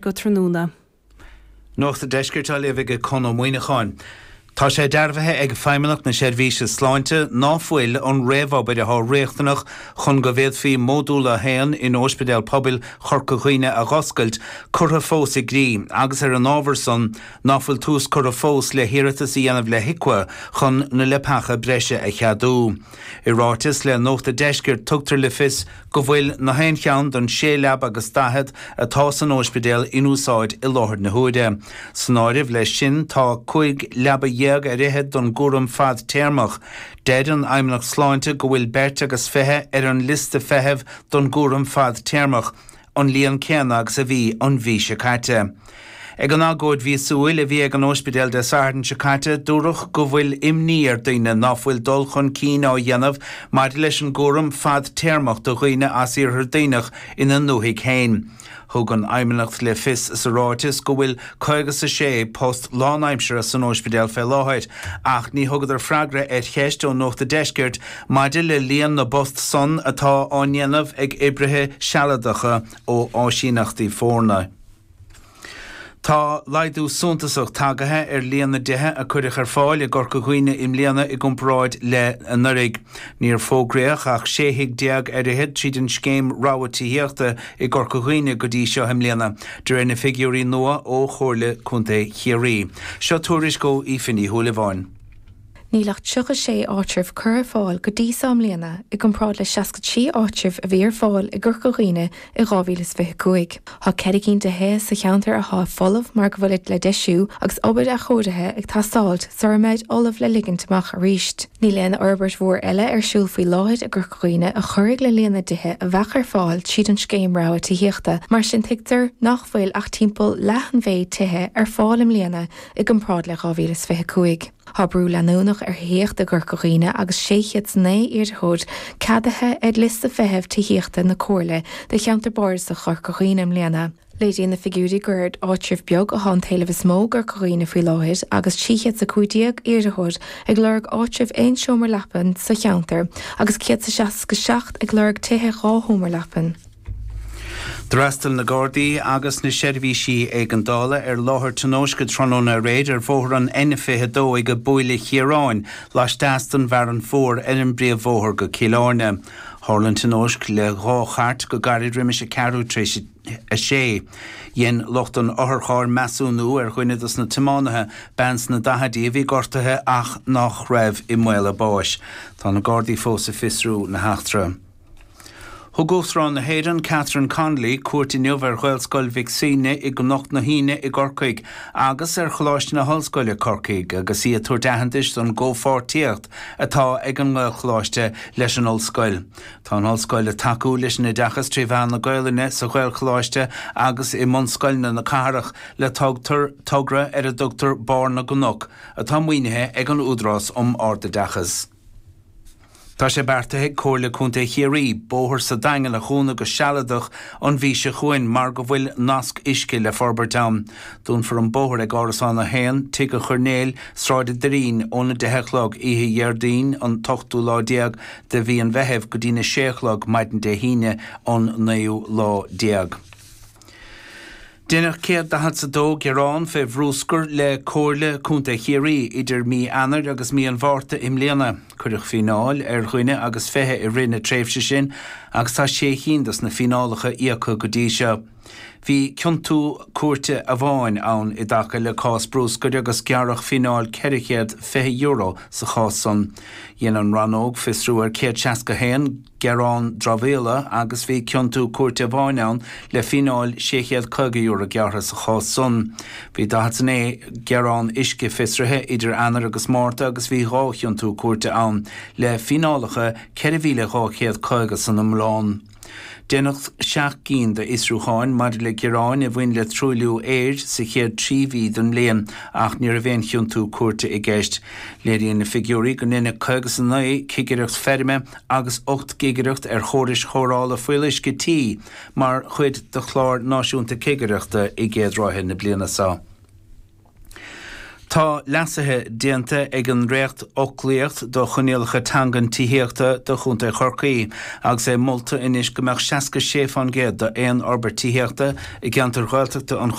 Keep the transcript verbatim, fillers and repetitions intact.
go tráthnóna. Nuacht an Deiscirt á léamh ag Conn Ó Muíneacháin. Tá sé dearbhaithe ag Feidhmeannacht na Seirbhíse Sláinte ná fuil an réamhobair atá riachtanach chun go bhféadfaí Módúl a haon in Ospidéal Pobail Chorca Dhuibhne a dh'oscailt curtha fós i gcrích agus ar an ábhar san ná fuil tús curtha fós le hiarratas a dhéanamh le HIQA chun na leapacha breise a cheadú. I ráiteas le Nuacht an Deiscirt tugtar le fios go bhfuil na haon cheann den sé leaba agus daichead atá san ospidéal in úsáid i láthair na huaire. San áireamh leis sin tá cúig leaba dhéag ar fhichead don gcúram fadtéarmach. Deir an Fheidhmeannacht Sláinte go bhfuil beirt agus fiche ar an liosta feithimh don gcúram fadtéarmach, an líon céanna agus a bhí an mhí seo caite. Ag an agóid mhíosúil a bhí ag an ospidéal Dé Sathairn seo caite, dúradh go bhfuil imní ar dhaoine ná fuil dul chun cinn á dhéanamh maidir leis an gcúram fadtéarmach do dhaoine as Iarthar Duibhneach ina ndúthaigh féin. Thug an Fheidhmeannacht le fios sa ráiteas go bhfuil caoga is a sé post lánaimseartha san ospidéal fé láthair, ach ní thugadar freagra ar cheist ó Nuacht an Deiscirt maidir le líon na bpost san atá á ndéanamh ag oibrithe sealadacha ó áisíneachtaí foirne. Tá laghdú suntasach tagaithe ar líon na dtithe a cuireadh ar fáil i gCorca Dhuibhne i mbliana i gcomparáid le anuraidh. Níor fógraíodh ach sé thigh déag ar fhichead tríd an scéim Rogha Tithíochta i gCorca Dhuibhne go dtí seo i mbliana, de réir na figiúirí nua ó Chomhairle Contae Chiarraí. Seo tuairisc ó Aoife Ní Shúilleabháin. Níl ach tríocha sé áitreabh curtha ar fáil go dtí seo i mbliana i gcomparáid le seasca trí áitreabh a bhí ar fáil i gCorca Dhuibhne i dhá mhíle is fiche cúig. Tá ceithre cinn de thithe sa cheantar atá folamh mar go bhfuilid le deisiú agus obair athchóirithe ag teastáilt sara mbeid ullamh le ligint amach arís. Níl aon fhorbairt mhór eile ar siúl faoi láthair i gCorca Dhuibhne a chuirfidh le líon na dtithe a bheadh ar fáil tríd an scéim Rogha Tithíochta, mar sin tuigtear nach bhfuil ach timpeall leath an mhéid tithe ar fáil i mbliana i gcomparáid le dhá mhíle is fiche cúig. Tá brú leanúnach ar thithíocht i gCorca Dhuibhne agus sé chéad is naoi iarrthóir ceadaithe ar liosta feithimh tithíochta na Comhairle do cheantar bardasach Chorca Dhuibhne i mbliana. Léiríonn na figiúirí gur ar áitreabh beag atá an t-éileamh is mó i gCorca Dhuibhne faoi láthair agus trí chéad is a cúig déag iarrthóir ag lorg áitreabh aon seomra leapan sa cheantar agus céad is seasca seacht ag lorg tithe dhá sheomra leapan. D'fhreastail na Gardaí agus na seirbhísí éigeandála ar láthair tionóisce tráthnóna aréir ar bhóthar an N fiche dó ag Buaile Chiaráin, laisteas den bhFearann Mhór ar an bpríomhbhóthar go Cill Airne. Tharla an tionóisc le dhá chairt go gairid roimis a ceathrú tar éis a sé. Dhein lucht an otharchairr measúnú ar dhuine dos na tiománaithe, bean sna daichidí a bhí gortaithe ach nach raibh i mbaol a báis. Tá na Gardaí fós ag fiosrú na heachtra. Thug Uachtarán na hÉireann, Catherine Connolly, cuairt inniu ar Ghaelscoil Mhic Suibhne i gCnoc na hAoine i gCorcaigh agus ar Choláiste na hOllscoile, Corcaigh, agus í ag tabhairt aitheantais don gcomhpháirtíocht atá ag an nGaelcholáiste leis an ollscoil. Tá an ollscoil ag tacú leis an oideachas trí mheán na Gaelainne sa Ghaelcholáiste agus i mbunscoileanna na cathrach le togra ar a dtugtar Barr na gCnoc, atá maoinithe ag an Údarás um Ardoideachas. Tá sé beartaithe ag Comhairle Contae Chiarraí bóthar sa Daingean a dhúnadh go sealadach an mhí seo chugainn mar go bhfuil nasc uisce le forbairt ann. Dúnfar an bóthar ag Árasán a haon, Tigh an Choirnéil, Sráid an Doirín, óna deich a chlog oíche Dhéardaoin an t-ochtú lá déag de mhí an Mheithimh go dtína sé a chlog maidin Dé hAoine an naoú lá déag. Deineadh céad daichead 's a dó gearán fé bhrúscar le Comhairle Contae Chiarraí idir mí Eanáir agus mí an Mhárta i mbliana. Cuireadh fíneáil ar dhuine agus fiche i rith na tréimhse sin agus tá sé chinn dos na fíneálacha íoctha go dtí seo. Bhí ciontú cúirte amháin ann i dtaca le cás brúscair agus gearradh fíneáil ceithre chéad fiche euro sa chás san. Dhein an rannóg fiosrú ar céad seasca haon gearán dramhaíola agus bhí ciontú cúirte amháin ann le fíneáil sé chéad caoga euro gearrtha sa chás san. Bhí daichead 's a naoi gearán uisce fiosraithe idir Eanáir agus Márta agus bhí dhá chiontú cúirte ann le fíneálacha ceithre mhíle dhá chéad caoga san iomlán. Deineadh seacht gcinn d'fhiosrúcháin maidir le gearáin a bhain le truailliú aeir sa chéad trí mhí den mbliain ach ní raibh aon chiontú cúirte i gceist. Léiríonn na figiúirí go ndeineadh caoga 's a naoi cigireacht feirme agus ocht gcigireacht ar chórais chóireála fuíolluisce tí mar chuid de chlár náisiúnta cigireachta i gcéad ráithe na bliana seo. Tá leasuithe déanta ag an ndréacht-fhoclaíocht do choinníollacha teangan tithíochta do Chontae Chorcaí, agus é molta anois go mbeadh seasca sé faoin gcéad d'aon fhorbairt tithíochta i gceantar Ghaeltachta an